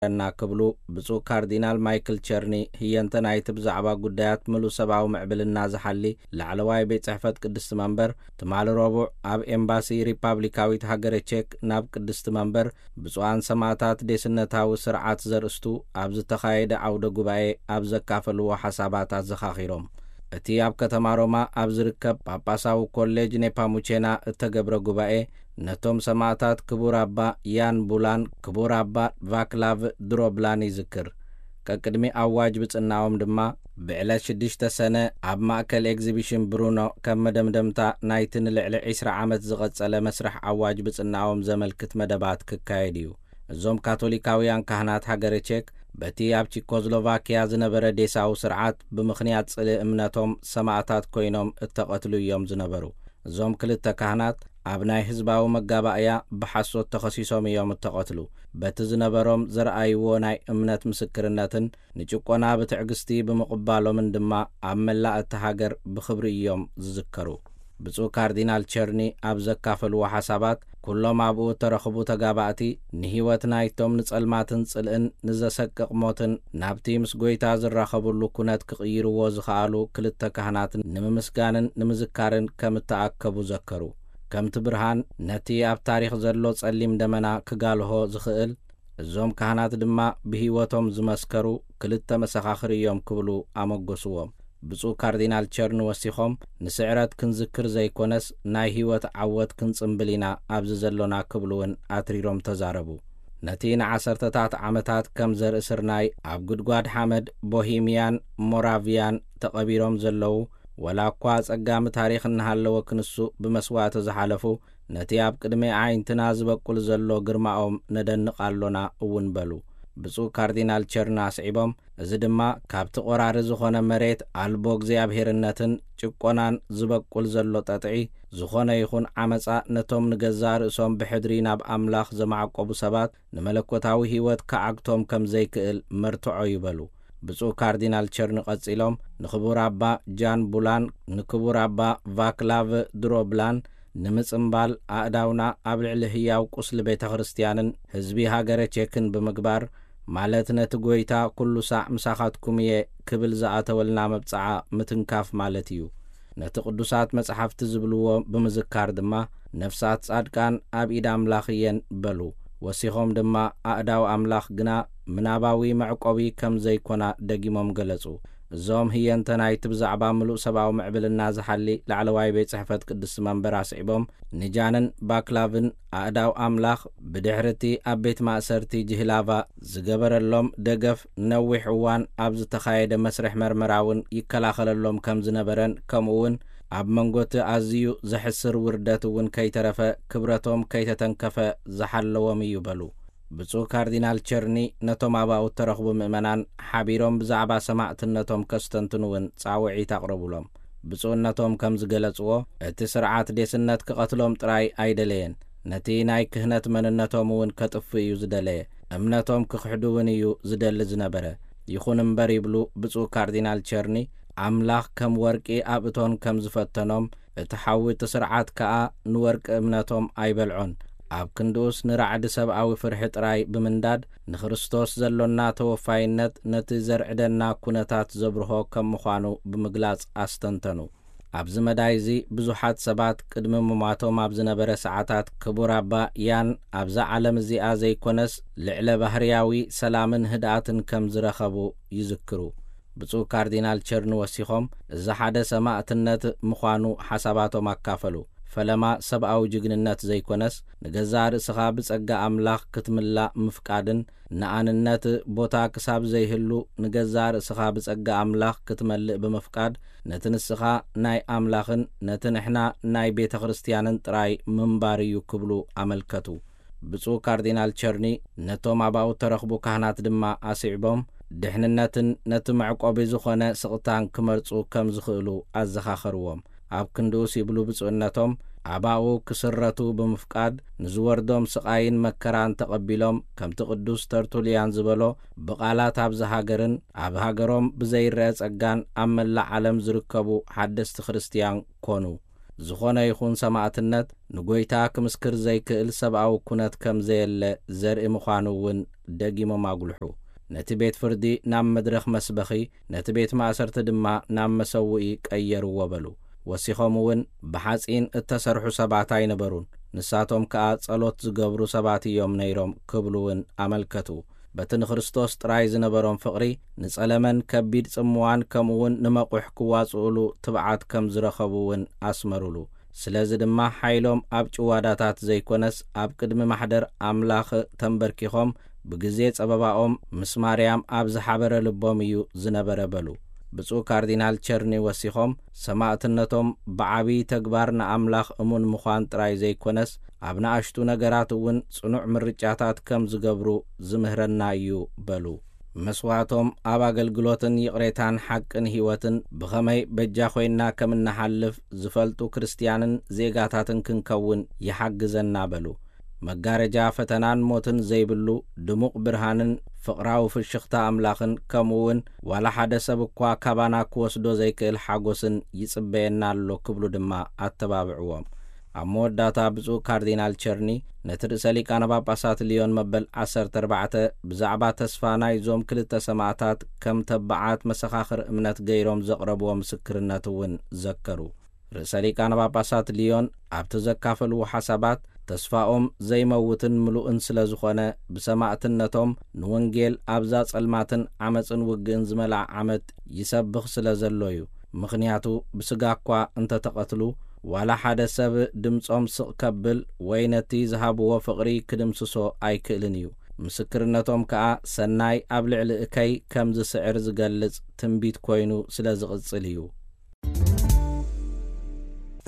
ና ክብሉ ብፁዕ ካርዲናል ማይክል ቸርኒ፣ ህየንተ ናይቲ ብዛዕባ ጉዳያት ምሉእ ሰብኣዊ ምዕብልና ዝሓሊ ላዕለዋይ ቤት ጽሕፈት ቅድስቲ መንበር፣ ትማሊ ረቡዕ ኣብ ኤምባሲ ሪፓብሊካዊት ሃገረ ቼክ ናብ ቅድስቲ መንበር ብፁዓን ሰማእታት ዴስነታዊ ስርዓት ዘርእስቱ ኣብ ዝተኻየደ ዓውደ ጉባኤ ኣብ ዘካፈልዎ ሓሳባት ኣዘኻኺሮም። እቲ ኣብ ከተማ ሮማ ኣብ ዝርከብ ጳጳሳዊ ኮሌጅ ኔፓሙቼና እተገብረ ጉባኤ፣ ነቶም ሰማእታት ክቡር ኣባ ያን ቡላን ክቡር ኣባ ቫክላቭ ድሮብላን ይዝክር። ቀቅድሚ ኣዋጅ ብጽናኦም ድማ፣ ብዕለት ሽዱሽተ ሰነ ኣብ ማእከል ኤግዚቢሽን ብሩኖ ከም መደምደምታ ናይቲ ንልዕሊ ዕስራ ዓመት ዝቐጸለ መስርሕ ኣዋጅ ብጽናኦም ዘመልክት መደባት ክካየድ እዩ። እዞም ካቶሊካውያን ካህናት ሃገረ ቼክ፣ በቲ ኣብ ቺኮስሎቫኪያ ዝነበረ ዴሳዊ ስርዓት ብምኽንያት ጽልኢ እምነቶም ሰማእታት ኮይኖም እተቐትሉ እዮም ዝነበሩ። እዞም ክልተ ካህናት ኣብ ናይ ህዝባዊ መጋባእያ ብሓሶት ተኸሲሶም እዮም እተቐትሉ። በቲ ዝነበሮም ዘርኣይዎ ናይ እምነት ምስክርነትን ንጭቆና ብትዕግስቲ ብምቕባሎምን ድማ ኣብ መላእ እታ ሃገር ብኽብሪ እዮም ዝዝከሩ። ብፁዕ ካርዲናል ቸርኒ ኣብ ዘካፈልዎ ሓሳባት፣ ኩሎም ኣብኡ እተረኽቡ ተጋባእቲ ንህይወት ናይቶም ንጸልማትን ጽልእን ንዘሰቅቕ ሞትን ናብቲ ምስ ጐይታ ዝራኸብሉ ኩነት ክቕይርዎ ዝኸኣሉ ክልተ ካህናት ንምምስጋንን ንምዝካርን ከም እተኣከቡ ዘከሩ። ከምቲ ብርሃን ነቲ ኣብ ታሪኽ ዘሎ ጸሊም ደመና ክጋልሆ ዝኽእል፣ እዞም ካህናት ድማ ብህይወቶም ዝመስከሩ ክልተ መሰኻኽር እዮም ክብሉ ኣመጎስዎም። ብፁዕ ካርዲናል ቸርን ወሲኾም፣ ንስዕረት ክንዝክር ዘይኮነስ ናይ ህይወት ዓወት ክንጽምብል ኢና ኣብዚ ዘሎና ክብሉ እውን ኣትሪሮም ተዛረቡ። ነቲ ንዓሰርተታት ዓመታት ከም ዘርኢ ስርናይ ኣብ ጉድጓድ ሓመድ ቦሂምያን ሞራቪያን ተቐቢሮም ዘለዉ፣ ወላ እኳ ኣጸጋሚ ታሪኽ እናሃለወ ክንሱ ብመስዋእቲ ዝሓለፉ፣ ነቲ ኣብ ቅድሚ ኣዒንትና ዝበቁል ዘሎ ግርማኦም ነደንቕ ኣሎና እውን በሉ። ብፁዕ ካርዲናል ቸርን ኣስዒቦም፣ እዚ ድማ ካብቲ ቆራሪ ዝኾነ መሬት ኣልቦ እግዚኣብሄርነትን ጭቆናን ዝበቁል ዘሎ ጠጥዒ፣ ዝኾነ ይኹን ዓመጻ ነቶም ንገዛእ ርእሶም ብሕድሪ ናብ ኣምላኽ ዘማዕቆቡ ሰባት ንመለኮታዊ ህይወት ክዓግቶም ከም ዘይክእል መርትዖ እዩ በሉ። ብፁዕ ካርዲናል ቸርን ቀጺሎም፣ ንክቡር ኣባ ጃን ቡላን ንክቡር ኣባ ቫክላቭ ድሮብላን ንምጽምባል ኣእዳውና ኣብ ልዕሊ ህያው ቁስሊ ቤተ ክርስቲያንን ህዝቢ ሃገረ ቼክን ብምግባር፣ ማለት ነቲ ጐይታ ኩሉ ሳዕ ምሳኻትኩም እየ ክብል ዝኣተወልና መብጽዓ ምትንካፍ ማለት እዩ። ነቲ ቅዱሳት መጻሕፍቲ ዝብልዎ ብምዝካር ድማ፣ ነፍሳት ጻድቃን ኣብ ኢድ ኣምላኽ እየን በሉ። ወሲኾም ድማ፣ ኣእዳው ኣምላኽ ግና ምናባዊ መዕቆቢ ከም ዘይኮና ደጊሞም ገለጹ። እዞም ህየንተ ናይቲ ብዛዕባ ምሉእ ሰብኣዊ ምዕብልና ዝሓሊ ላዕለዋይ ቤት ጽሕፈት ቅድስቲ መንበር ኣስዒቦም፣ ንጃንን ባክላቭን ኣእዳው ኣምላኽ ብድሕሪ እቲ ኣብ ቤት ማእሰርቲ ጅህላቫ ዝገበረሎም ደገፍ፣ ነዊሕ እዋን ኣብ ዝተኻየደ መስርሕ መርመራ እውን ይከላኸለሎም ከም ዝነበረን፣ ከምኡ እውን ኣብ መንጎ እቲ ኣዝዩ ዘሕስር ውርደት እውን ከይተረፈ ክብረቶም ከይተተንከፈ ዝሓለዎም እዩ በሉ። ብፁዕ ካርዲናል ቸርኒ ነቶም ኣባኡ እተረኽቡ ምእመናን ሓቢሮም ብዛዕባ ሰማዕትነቶም ከስተንትኑ እውን ጻውዒት ኣቕረቡሎም። ብፁዕነቶም ከም ዝገለጽዎ፣ እቲ ስርዓት ዴስነት ክቐትሎም ጥራይ ኣይደለየን፣ ነቲ ናይ ክህነት መንነቶም እውን ከጥፍእ እዩ ዝደለየ። እምነቶም ክኽሕዱ እውን እዩ ዝደሊ ዝነበረ። ይኹን እምበር ይብሉ ብፁዕ ካርዲናል ቸርኒ፣ ኣምላኽ ከም ወርቂ ኣብ እቶን ከም ዝፈተኖም፣ እቲ ሓዊ እቲ ስርዓት ከኣ ንወርቂ እምነቶም ኣይበልዖን። ኣብ ክንድኡስ ንራዕዲ ሰብኣዊ ፍርሒ ጥራይ ብምንዳድ፣ ንክርስቶስ ዘሎና ተወፋይነት ነቲ ዘርዕደና ኩነታት ዘብርሆ ከም ምዃኑ ብምግላጽ ኣስተንተኑ። ኣብዚ መዳይ እዚ ብዙሓት ሰባት ቅድሚ ምሟቶም ኣብ ዝነበረ ሰዓታት ክቡር ኣባ ያን ኣብዛ ዓለም እዚኣ ዘይኮነስ ልዕለ ባህርያዊ ሰላምን ህድኣትን ከም ዝረኸቡ ይዝክሩ። ብፁዕ ካርዲናል ቸርን ወሲኾም፣ እዚ ሓደ ሰማእትነት ምዃኑ ሓሳባቶም ኣካፈሉ። ፈለማ ሰብኣዊ ጅግንነት ዘይኮነስ፣ ንገዛእ ርእስኻ ብጸጋ ኣምላኽ ክትምላእ ምፍቃድን፣ ንኣንነት ቦታ ክሳብ ዘይህሉ ንገዛእ ርእስኻ ብጸጋ ኣምላኽ ክትመልእ ብምፍቃድ፣ ነቲ ንስኻ ናይ ኣምላኽን ነቲ ንሕና ናይ ቤተ ክርስቲያንን ጥራይ ምንባር እዩ ክብሉ ኣመልከቱ። ብፁዕ ካርዲናል ቸርኒ ነቶም ኣባኡ እተረኽቡ ካህናት ድማ ኣስዒቦም፣ ድሕንነትን ነቲ መዕቆቢ ዝኾነ ስቕታን ክመርጹ ከም ዝኽእሉ ኣዘኻኸርዎም። ኣብ ክንድኡስ ይብሉ ብፁዕነቶም፣ ኣባኡ ክስረቱ ብምፍቃድ ንዝወርዶም ስቓይን መከራን ተቐቢሎም፣ ከምቲ ቅዱስ ተርቱልያን ዝበሎ፣ ብቓላት ኣብዚ ሃገርን ኣብ ሃገሮም ብዘይረአ ጸጋን ኣብ መላእ ዓለም ዝርከቡ ሓደስቲ ክርስትያን ኮኑ። ዝኾነ ይኹን ሰማእትነት ንጎይታ ክምስክር ዘይክእል ሰብኣዊ ኩነት ከም ዘየለ ዘርኢ ምዃኑ እውን ደጊሞም ኣጉልሑ። ነቲ ቤት ፍርዲ ናብ መድረኽ መስበኺ፣ ነቲ ቤት ማእሰርቲ ድማ ናብ መሰውኢ ቀየርዎ በሉ። ወሲኾም እውን ብሓጺን እተሰርሑ ሰባት ኣይነበሩን፣ ንሳቶም ከኣ ጸሎት ዝገብሩ ሰባት እዮም ነይሮም ክብሉ እውን ኣመልከቱ። በቲ ንክርስቶስ ጥራይ ዝነበሮም ፍቕሪ፣ ንጸለመን ከቢድ ጽምዋን ከምኡ እውን ንመቑሕ ክዋጽኡሉ ትብዓት ከም ዝረኸቡ እውን ኣስመሩሉ። ስለዚ ድማ ሓይሎም ኣብ ጭዋዳታት ዘይኮነስ ኣብ ቅድሚ ማሕደር ኣምላኽ ተንበርኪኾም ብግዜ ጸበባኦም ምስ ማርያም ኣብ ዝሓበረ ልቦም እዩ ዝነበረ በሉ። ብፁዕ ካርዲናል ቸርኒ ወሲኾም ሰማእትነቶም ብዓቢ ተግባር ንኣምላኽ እሙን ምዃን ጥራይ ዘይኮነስ ኣብ ንኣሽቱ ነገራት እውን ጽኑዕ ምርጫታት ከም ዝገብሩ ዝምህረና እዩ በሉ። መስዋዕቶም ኣብ ኣገልግሎትን ይቕሬታን ሓቅን ህይወትን ብኸመይ በጃ ኮይንና ከም እንሓልፍ ዝፈልጡ ክርስትያንን ዜጋታትን ክንከውን ይሓግዘና በሉ። መጋረጃ ፈተናን ሞትን ዘይብሉ ድሙቕ ብርሃንን ፍቕራዊ ፍሽኽታ ኣምላኽን ከምኡ እውን ዋላ ሓደ ሰብ እኳ ካባና ክወስዶ ዘይክእል ሓጎስን ይጽበየና ኣሎ ክብሉ ድማ ኣተባብዕዎም። ኣብ መወዳእታ ብፁዕ ካርዲናል ቸርኒ ነቲ ርእሰ ሊቃነ ጳጳሳት ልዮን መበል ዓሰርተ ኣርባዕተ ብዛዕባ ተስፋ ናይዞም ክልተ ሰማእታት ከም ተባዓት መሰኻኽር እምነት ገይሮም ዘቕረብዎ ምስክርነት እውን ዘከሩ። ርእሰ ሊቃነ ጳጳሳት ልዮን ኣብቲ ዘካፈልዎ ሓሳባት ተስፋኦም ዘይመውትን ምሉእን ስለ ዝኾነ ብሰማእትነቶም ንወንጌል ኣብዛ ጸልማትን ዓመጽን ውግእን ዝመልኣ ዓመት ይሰብኽ ስለ ዘሎ እዩ። ምኽንያቱ ብስጋ እኳ እንተተቐትሉ ዋላ ሓደ ሰብ ድምጾም ስቕ ከብል ወይ ነቲ ዝሃብዎ ፍቕሪ ክድምስሶ ኣይክእልን እዩ። ምስክርነቶም ከኣ ሰናይ ኣብ ልዕሊ እከይ ከም ዝስዕር ዝገልጽ ትንቢት ኮይኑ ስለ ዝቕጽል እዩ።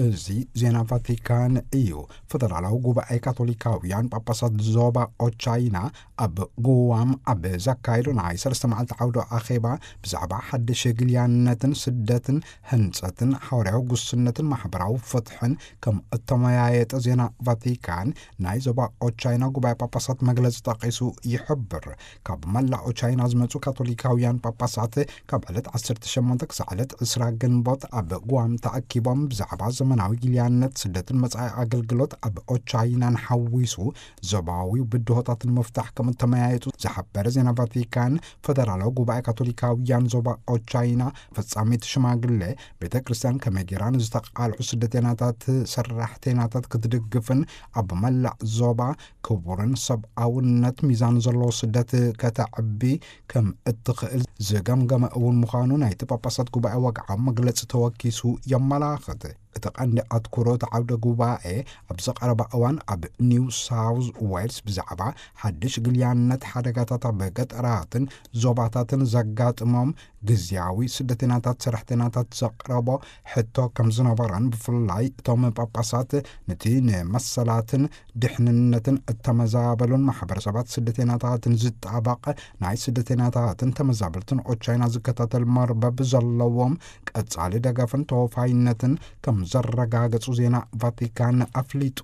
እዚ ዜና ቫቲካን እዩ። ፈደራላዊ ጉባኤ ካቶሊካውያን ጳጳሳት ዞባ ኦቻይና ኣብ ጉዋም ኣብ ዘካየዶ ናይ ሰለስተ መዓልቲ ዓውደ ኣኼባ ብዛዕባ ሓድሽ ግልያነትን ስደትን ህንጸትን ሓዋርያዊ ጉስነትን ማሕበራዊ ፍትሕን ከም እተመያየጠ ዜና ቫቲካን ናይ ዞባ ኦቻይና ጉባኤ ጳጳሳት መግለጺ ጠቒሱ ይሕብር። ካብ መላእ ኦቻይና ዝመጹ ካቶሊካውያን ጳጳሳት ካብ ዕለት ዓሰርተ ሸሞንተ ክሳዕ ዕለት ዕስራ ግንቦት ኣብ ጉዋም ተኣኪቦም ብዛዕባ ዘመናዊ ግልያነት ስደትን መጻኢ ኣገልግሎት ኣብ ኦቻይናን ሓዊሱ ዞባዊ ብድሆታት ንምፍታሕ ከም እተመያየጡ ዝሓበረ ዜና ቫቲካን፣ ፈደራላዊ ጉባኤ ካቶሊካውያን ዞባ ኦቻይና ፈጻሚት ሽማግሌ ቤተ ክርስቲያን ከመይ ጌራ ንዝተቓልዑ ስደተኛታት ሰራሕተኛታት ክትድግፍን ኣብ መላእ ዞባ ክቡርን ሰብኣውነት ሚዛን ዘለዎ ስደት ከተዕቢ ከም እትኽእል ዝገምገመ እውን ምዃኑ ናይቲ ጳጳሳት ጉባኤ ወግዓዊ መግለጺ ተወኪሱ የመላኽት። እቲ ቀንዲ ኣትኩሮ እቲ ዓውደ ጉባኤ ኣብ ዝቐረባ እዋን ኣብ ኒው ሳውዝ ዌልስ ብዛዕባ ሓድሽ ግልያነት ሓደጋታት ኣብ ገጠራትን ዞባታትን ዘጋጥሞም ግዝያዊ ስደተኛታት ሰራሕተኛታት ዘቕረቦ ሕቶ ከም ዝነበረን ብፍላይ እቶም ጳጳሳት ነቲ ንመሰላትን ድሕንነትን እተመዛበሉን ማሕበረሰባት ስደተኛታትን ዝጣበቕ ናይ ስደተኛታትን ተመዛበልትን ኦቻይና ዝከታተል መርበብ ዘለዎም ቀጻሊ ደገፍን ተወፋይነትን ከም ዘረጋገጹ ዜና ቫቲካን ኣፍሊጡ።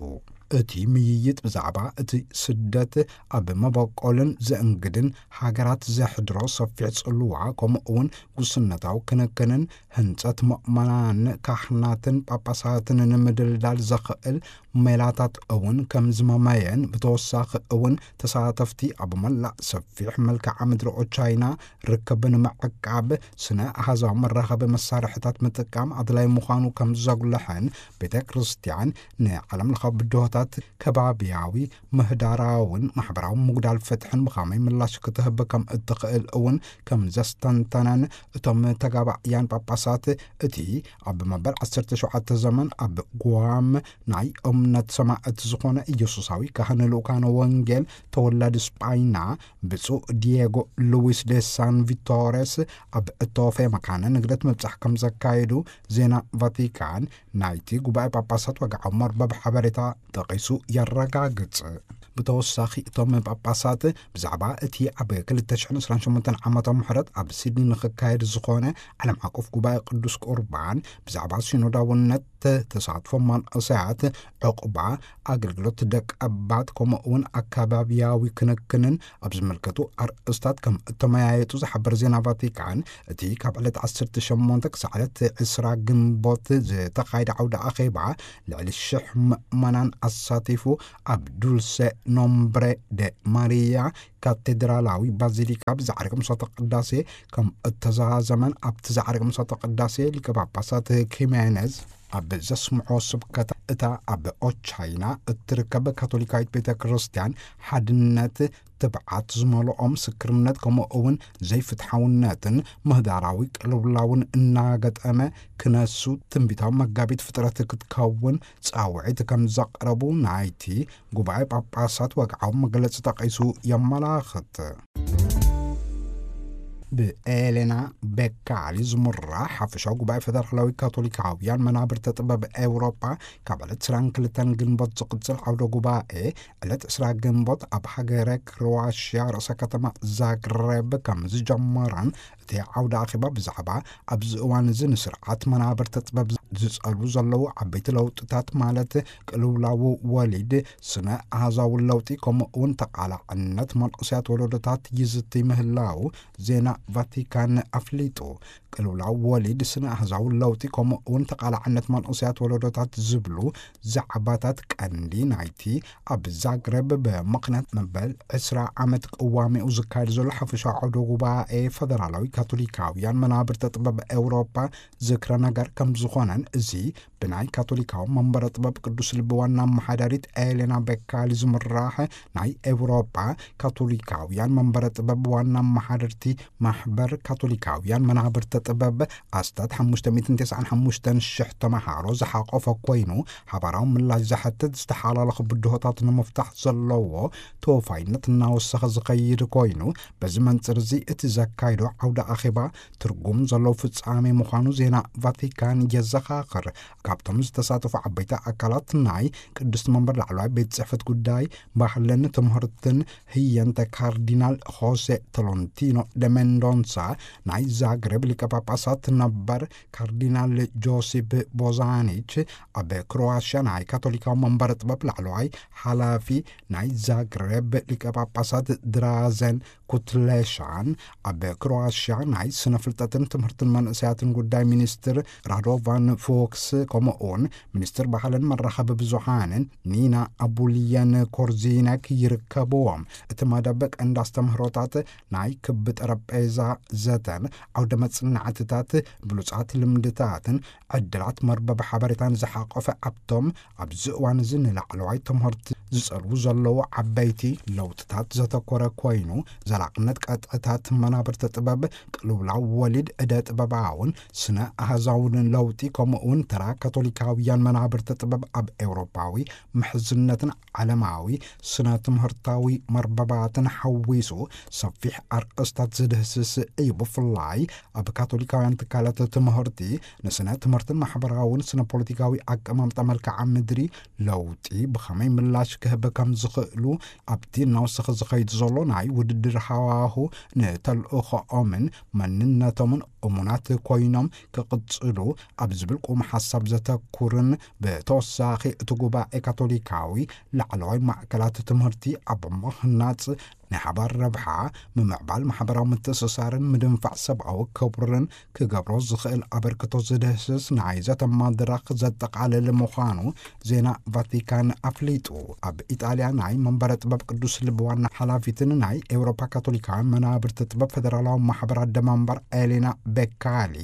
እቲ ምይይጥ ብዛዕባ እቲ ስደት ኣብ መበቆልን ዘእንግድን ሃገራት ዘሕድሮ ሰፊሕ ጽልዋ ከምኡ እውን ጉስነታዊ ክንክንን ህንጸት ምእመናን ካህናትን ጳጳሳትን ንምድልዳል ዘኽእል ሜላታት እውን ከም ዝመመየን ብተወሳኺ እውን ተሳተፍቲ ኣብ መላእ ሰፊሕ መልክዓ ምድሪ ኦቻይና ርክብ ንምዕቃብ ስነ ኣሃዛዊ መራኸቢ መሳርሕታት ምጥቃም ኣድላይ ምዃኑ ከም ዘጉልሐን ቤተ ክርስቲያን ንዓለም ለኻዊ ብድሆታት ከባብያዊ ምህዳራውን ማሕበራዊ ምጉዳል ፍትሕን ብኸመይ ምላሽ ክትህብ ከም እትኽእል እውን ከም ዘስተንተነን እቶም ተጋባእያን ጳጳሳት እቲ ኣብ መበል ዓሰርተ ሸውዓተ ዘመን ኣብ ጓም ናይ እምነት ሰማእት ዝኾነ ኢየሱሳዊ ካህን ልኡካነ ወንጌል ተወላዲ ስጳይና ብፁዕ ዲየጎ ሉዊስ ዴ ሳን ቪቶሬስ ኣብ እተወፈየ መካነ ንግደት ምብጻሕ ከም ዘካየዱ ዜና ቫቲካን ናይቲ ጉባኤ ጳጳሳት ወግዓዊ መርበብ ሓበሬታ ጠቒሱ የረጋግጽ። ብተወሳኺ እቶም ጳጳሳት ብዛዕባ እቲ ኣብ ክልተ ሽሕን ዕስራን ሸሞንተን ዓመተ ምሕረት ኣብ ሲድኒ ንኽካየድ ዝኾነ ዓለም ዓቀፍ ጉባኤ ቅዱስ ቁርባን ብዛዕባ ሲኖዳውነት ተሳትፎ መንእሰያት፣ ዕቑባ፣ ኣገልግሎት ደቂ ኣባት፣ ከምኡ እውን ኣካባቢያዊ ክንክንን ኣብ ዝምልከቱ ኣርእስታት ከም እተመያየጡ ዝሓበር ዜና ቫቲካን፣ እቲ ካብ ዕለት ዓሰርተ ሸሞንተ ክሳዕ ዕለት ዕስራ ግንቦት ዝተኻየደ ዓውደ ኣኼባ፣ ልዕሊ ሽሕ ምእመናን ኣሳቲፉ፣ ኣብ ዱልሰ ኖምብሬ ደ ማሪያ ካቴድራላዊ ባዚሊካ ብዛዕርግ ምሳተ ቅዳሴ ከም እተዛዘመን፣ ኣብቲ ዛዕርግ ምሳተ ቅዳሴ ሊቀ ጳጳሳት ኪሜነዝ ኣብ ዘስምዖ ስብከት፣ እታ ኣብ ኦቻይና እትርከብ ካቶሊካዊት ቤተ ክርስቲያን ሓድነት፣ ትብዓት ዝመልኦ ምስክርነት፣ ከምኡ እውን ዘይፍትሓውነትን ምህዳራዊ ቅልውላውን እናገጠመ ክነሱ፣ ትንቢታዊ መጋቢት ፍጥረት ክትከውን ጻውዒት ከም ዘቕረቡ ናይቲ ጉባኤ ጳጳሳት ወግዓዊ መግለጺ ጠቒሱ የመላኽት። ብኤሌና ቤካሊ ዝምራሕ ሓፈሻዊ ጉባኤ ፈደራላዊ ካቶሊካውያን መናብርተ ጥበብ ኤውሮጳ፣ ካብ ዕለት ዕስራን ክልተን ግንቦት ዝቕጽል ዓውደ ጉባኤ፣ ዕለት ዕስራ ግንቦት ኣብ ሃገረ ክሮዋሽያ ርእሰ ከተማ ዛግሬብ ከም ዝጀመረን፣ እቲ ዓውደ ኣኼባ ብዛዕባ ኣብዚ እዋን እዚ ንስርዓት መናብርተ ጥበብ ዝጸልዉ ዘለዉ ዓበይቲ ለውጥታት፣ ማለት ቅልውላው ወሊድ፣ ስነ ኣሃዛዊ ለውጢ፣ ከምኡ እውን ተቓላዕነት መንእሰያት ወለዶታት ይዝቲ ምህላው ዜና ቫቲካን ኣፍሊጡ። ቅልውላው ወሊድ፣ ስነ ኣሃዛዊ ለውጢ፣ ከምኡ እውን ተቓላዕነት መንእሰያት ወለዶታት ዝብሉ ዛዕባታት ቀንዲ ናይቲ ኣብ ዛግረብ ብምኽንያት መበል ዕስራ ዓመት ቅዋሜኡ ዝካየድ ዘሎ ሓፈሻዊ ዓውደ ጉባኤ ፈደራላዊ ካቶሊካውያን መናብርተ ጥበብ ኤውሮጳ ዝክረ ነገር ከም ዝኾነን፣ እዚ ብናይ ካቶሊካዊ መንበረ ጥበብ ቅዱስ ልቢ ዋና ኣመሓዳሪት ኤሌና ቤካሊ ዝምራሕ ናይ ኤውሮጳ ካቶሊካውያን መንበረ ጥበብ ዋና ኣመሓደርቲ ማሕበር ካቶሊካውያን መናብርተ ጥበብ ኣስታት ሓሙሽተ ሚእትን ተስዓን ሓሙሽተን ሽሕ ተመሃሮ ዝሓቆፈ ኮይኑ፣ ሓባራዊ ምላሽ ዝሓትት ዝተሓላለኹ ብድሆታት ንምፍታሕ ዘለዎ ተወፋይነት እናወሰኸ ዝኸይድ ኮይኑ፣ በዚ መንጽር እዚ እቲ ዘካይዶ ዓውደ ኣኼባ ትርጉም ዘለዎ ፍጻሜ ምዃኑ ዜና ቫቲካን የዘኻኽር። ካብቶም ዝተሳተፉ ዓበይቲ ኣካላት ናይ ቅድስቲ መንበር ላዕለዋይ ቤት ጽሕፈት ጉዳይ ባህልን ትምህርትን ህየንተ ካርዲናል ሆሴ ቶሎንቲኖ ደ ሜንዶንሳ፣ ናይ ዛግሬብ ሊቀ ጳጳሳት ነበር ካርዲናል ጆሲፕ ቦዛኒች፣ ኣብ ክሮዋሽያ ናይ ካቶሊካዊ መንበረ ጥበብ ላዕለዋይ ሓላፊ፣ ናይ ዛግሬብ ሊቀ ጳጳሳት ድራዘን ኩትሌሻን፣ ኣብ ክሮዋሽያ ናይ ስነ ፍልጠትን ትምህርትን መንእሰያትን ጉዳይ ሚኒስትር ራዶቫን ፎክስ፣ ከምኡውን ሚኒስትር ባህልን መራኸቢ ብዙሃንን ኒና ኣቡልየን ኮርዚነክ ይርከብዎም። እቲ መደብ ቀንዲ ኣስተምህሮታት ናይ ክቢ ጠረጴዛ ዘተን ዓውደ መጽናዕትታት፣ ብሉጻት ልምድታትን ዕድላት መርበብ ሓበሬታን ዝሓቆፈ፣ ኣብቶም ኣብዚ እዋን እዚ ንላዕለዋይ ትምህርቲ ዝጸልዉ ዘለዉ ዓበይቲ ለውጥታት ዘተኮረ ኮይኑ፣ ዘላቕነት ቀጥዕታት መናብርቲ ጥበብ፣ ቅልውላው ወሊድ እደ ጥበባውን ስነ ኣሃዛውን ለውጢ፣ ከምኡ እውን ተራ ካቶሊካውያን መናብርቲ ጥበብ ኣብ ኤውሮጳዊ ምሕዝነትን ዓለማዊ ስነ ትምህርታዊ መርበባትን ሓዊሱ ሰፊሕ ኣርእስታት ዝድህስስ እዩ። ብፍላይ ኣብ ካቶሊካውያን ትካላት ትምህርቲ ንስነ ትምህርትን ማሕበራውን ስነ ፖለቲካዊ ኣቀማምጣ መልክዓ ምድሪ ለውጢ ብኸመይ ምላሽ ክህብ ከም ዝኽእሉ፣ ኣብቲ እናወሰኸ ዝኸይድ ዘሎ ናይ ውድድር ሃዋሁ ንተልእኾኦምን መንነቶምን እሙናት ኮይኖም ክቕጽሉ ኣብ ዝብል ቁም ሓሳብ ዘተኩርን፣ ብተወሳኺ እቲ ጉባኤ ካቶሊካዊ ላዕለዋይ ማእከላት ትምህርቲ ኣብ ምህናጽ፣ ናይ ሓባር ረብሓ፣ ምምዕባል ማሕበራዊ ምትእስሳርን ምድንፋዕ ሰብኣዊ ክብርን ክገብሮ ዝኽእል ኣበርክቶ ዝድህስስ ናይ ዘተ መድረኽ ዘጠቓልል ምዃኑ ዜና ቫቲካን ኣፍሊጡ። ኣብ ኢጣልያ ናይ መንበረ ጥበብ ቅዱስ ልቢ ዋና ሓላፊትን ናይ ኤውሮፓ ካቶሊካውያን መናብርቲ ጥበብ ፈደራላዊ ማሕበር ኣደመንበር ኤሌና ቤካሊ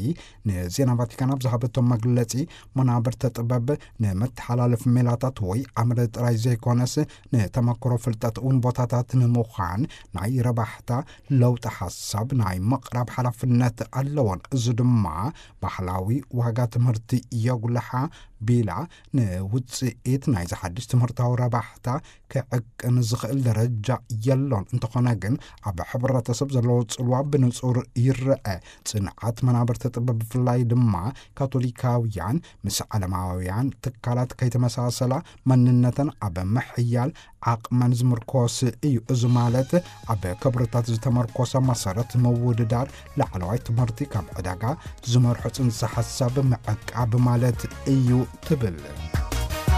ንዜና ቫቲካን ኣብ ዝሃበቶ መግለጺ፣ መናብርቲ ጥበብ ንመተሓላለፊ ሜላታት ወይ ኣምር ጥራይ ዘይኮነስ፣ ንተመክሮ ፍልጠት እውን ቦታታት ንምዃን ናይ ረባሕታ ለውጢ ሓሳብ ናይ ምቕራብ ሓላፍነት ኣለዎን። እዚ ድማ ባህላዊ ዋጋ ትምህርቲ የጉልሓ ቢላ፣ ንውጽኢት ናይዚ ሓድሽ ትምህርታዊ ረባሕታ ክዕቅን ዝኽእል ደረጃ የሎን። እንተኾነ ግን፣ ኣብ ሕብረተሰብ ዘለዎ ጽልዋ ብንጹር ይረአ። ጽንዓት መናብርቲ ጥበብ፣ ብፍላይ ድማ ካቶሊካውያን፣ ምስ ዓለማውያን ትካላት ከይተመሳሰላ፣ መንነተን ኣብ ምሕያል ዓቕመን ዝምርኮስ እዩ። እዚ ማለት፣ ኣብ ክብርታት ዝተመርኮሰ መሰረት ምውድዳር፣ ላዕለዋይ ትምህርቲ ካብ ዕዳጋ ዝመርሖ ጽንሰ ሓሳብ ምዕቃብ ማለት እዩ ትብል።